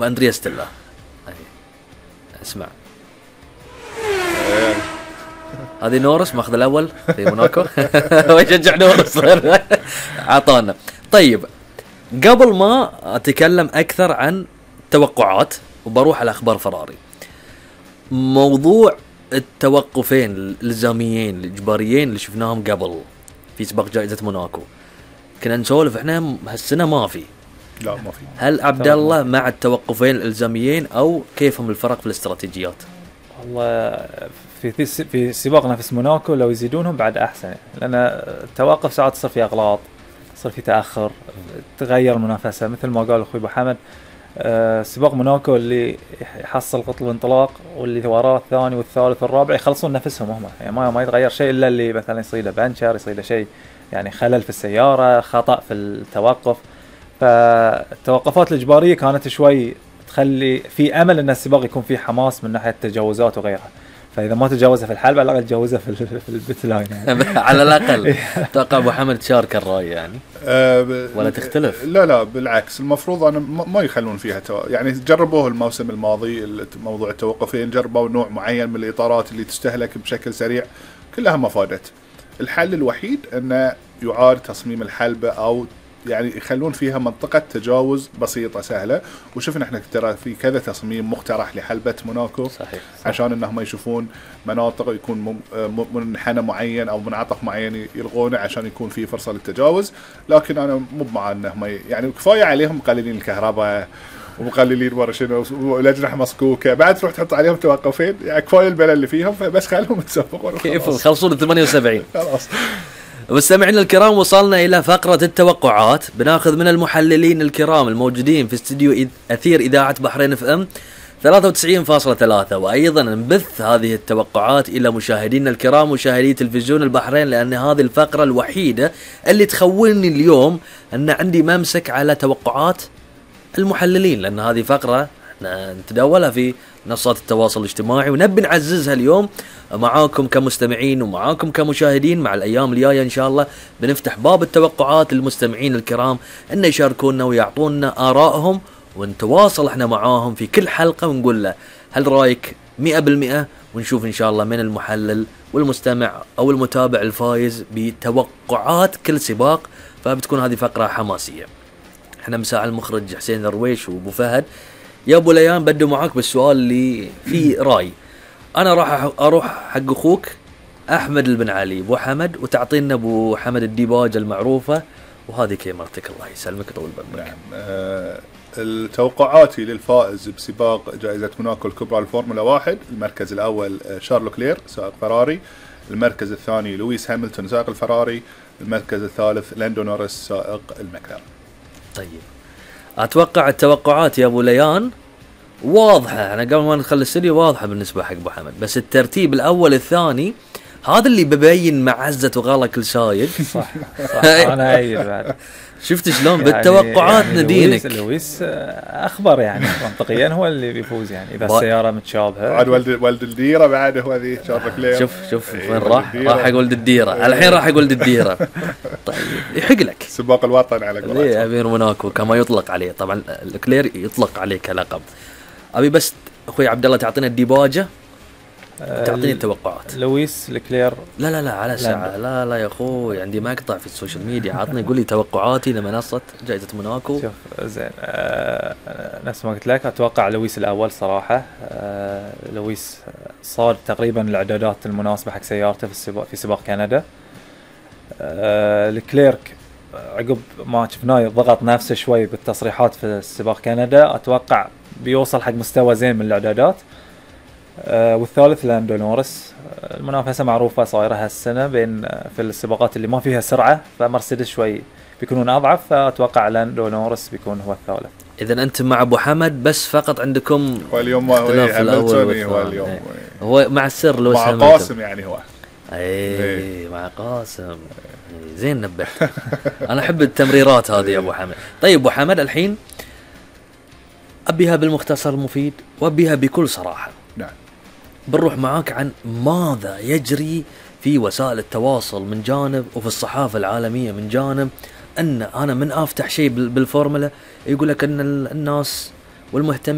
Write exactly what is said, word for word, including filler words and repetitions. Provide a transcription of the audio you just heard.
واندريا ستيلا. اسمع هذه نورس ماخذ الاول في موناكو ويشجع نورس عطانا. طيب قبل ما اتكلم اكثر عن توقعات وبروح على اخبار فراري، موضوع التوقفين الالزاميين الاجباريين اللي شفناهم قبل في سباق جائزة موناكو، كنا نسولف احنا هالسنه ما في. لا ما في. هل عبد الله مع التوقفين الالزاميين او كيفهم الفرق في الاستراتيجيات؟ والله في في سباق نفس موناكو لو يزيدونهم بعد احسن، لان التوقف ساعات تصير في اغلاط، تصير في تاخر، تغير المنافسه. مثل ما قال اخوي ابو حمد، أه سباق موناكو اللي يحصل قطب الانطلاق واللي وراه الثاني والثالث والرابع يخلصون نفسهم هم، يعني ما ما يتغير شيء الا اللي مثلا يصير له بنشر، يصير له شيء يعني خلل في السياره، خطا في التوقف. فالتوقفات الاجباريه كانت شوي تخلي في امل ان السباق يكون فيه حماس من ناحيه التجاوزات وغيرها. فاذا ما تجاوزها في الحلبة على الاقل تجاوزها في في البيت لاين يعني. على الاقل اتوقع ابو حمد تشارك الراي يعني أه ولا تختلف؟ لا لا بالعكس، المفروض انا ما يخلون فيها تو... يعني جربوه الموسم الماضي موضوع التوقفين، جربوا نوع معين من الاطارات اللي تستهلك بشكل سريع، كلها ما فادت. الحل الوحيد انه يعاد تصميم الحلبة او يعني يخلون فيها منطقة تجاوز بسيطة سهلة. وشفنا احنا ترى في كذا تصميم مقترح لحلبة موناكو صحيح. صحيح. عشان انهم يشوفون مناطق يكون منحنى معين او منعطف معين يلغونه عشان يكون في فرصة للتجاوز. لكن انا مو مع انهم يعني كفاية عليهم مقللين الكهرباء ومقللين ورا شنو والاجنحة مسكوكة، بعد تروح تحط عليهم توقفين، يعني كفاية البلا اللي فيهم، فبس خلهم يتسابقون كيف خلصون ثمانية وسبعين. خلاص. مستمعينا الكرام، وصلنا إلى فقرة التوقعات. بناخذ من المحللين الكرام الموجودين في استديو أثير إذاعة بحرين اف ام ثلاثة وتسعين فاصلة ثلاثة، وأيضا نبث هذه التوقعات إلى مشاهدينا الكرام مشاهدي تلفزيون البحرين، لأن هذه الفقرة الوحيدة اللي تخولني اليوم أن عندي ممسك على توقعات المحللين، لأن هذه فقرة نتداولها في منصات التواصل الاجتماعي ونبي نعززها اليوم معاكم كمستمعين ومعاكم كمشاهدين. مع الأيام الجاية إن شاء الله بنفتح باب التوقعات للمستمعين الكرام أن يشاركونا ويعطونا آرائهم، ونتواصل احنا معاهم في كل حلقة ونقول له هل رأيك مئة بالمئة، ونشوف إن شاء الله من المحلل والمستمع أو المتابع الفايز بتوقعات كل سباق. فبتكون هذه فقرة حماسية. احنا مساء المخرج حسين درويش وابو فهد. يا ابو ليان بدو معاك بالسؤال اللي فيه راي. انا راح اروح حق اخوك احمد البن علي ابو حمد، وتعطينا ابو حمد الديباجه المعروفه، وهذه كاميرتك الله يسلمك طول بالك. نعم. أه التوقعاتي للفائز بسباق جائزة موناكو الكبرى الفورمولا واحد، المركز الاول شارلو كلير سائق فراري، المركز الثاني لويس هاملتون سائق الفراري، المركز الثالث لاندو نوريس سائق المكلارن. طيب اتوقع التوقعات يا ابو ليان واضحه، انا قبل ما ندخل الاستديو واضحه بالنسبه حق ابو حمد، بس الترتيب الاول الثاني هذا اللي ببين معزه وغلا كل سايق. صح صح انا ايد بعد. شفت شلون بالتوقعات يعني ندينك؟ لويس, لويس اخبر يعني منطقيا هو اللي بيفوز، يعني اذا السياره متشابهه. بعد ولد ولد الديره بعد هو ذي شارلو كلير. شوف شوف وين راح راح يقول ولد الديره الحين، راح يقول ولد الديره. طيب يحق لك سباق الوطن على قولتهم. ايه امير موناكو كما يطلق عليه، طبعا الكلير يطلق عليه كلقب. ابي بس اخوي عبد الله تعطينا الديباجه، تعطيني التوقعات. لويس الكلير. لا لا لا على ساعة. لا لا يا اخوي عندي مقطع في السوشيال ميديا، عطني قول لي توقعاتي لمنصة جائزة موناكو. شوف زين آه نفس ما قلت لك اتوقع لويس الاول صراحة. آه لويس صار تقريبا الاعدادات المناسبة حق سيارته في السباق في سباق كندا. آه الكليرك عقب ما شفناه ضغط نفسه شوي بالتصريحات في سباق كندا، اتوقع بيوصل حق مستوى زين من الاعدادات. آه والثالث لاندو نوريس. آه المنافسة معروفة صايرة هالسنة بين آه في السباقات اللي ما فيها سرعة، فمرسيدس شوي بيكونون أضعف، فأتوقع لاندو نوريس بيكون هو الثالث. إذا أنت مع أبو حمد، بس فقط عندكم واليوم هاملتون هو اليوم ايه. هو مع السر لو مع قاسم يعني هو ايه مع قاسم. زين نبه. أنا أحب التمريرات هذه يا أبو حمد. طيب أبو حمد الحين أبيها بالمختصر المفيد وأبيها بكل صراحة. نعم. بنروح معاك عن ماذا يجري في وسائل التواصل من جانب وفي الصحافة العالمية من جانب، أن أنا من أفتح شيء بالفورمولا يقول لك أن الناس والمهتم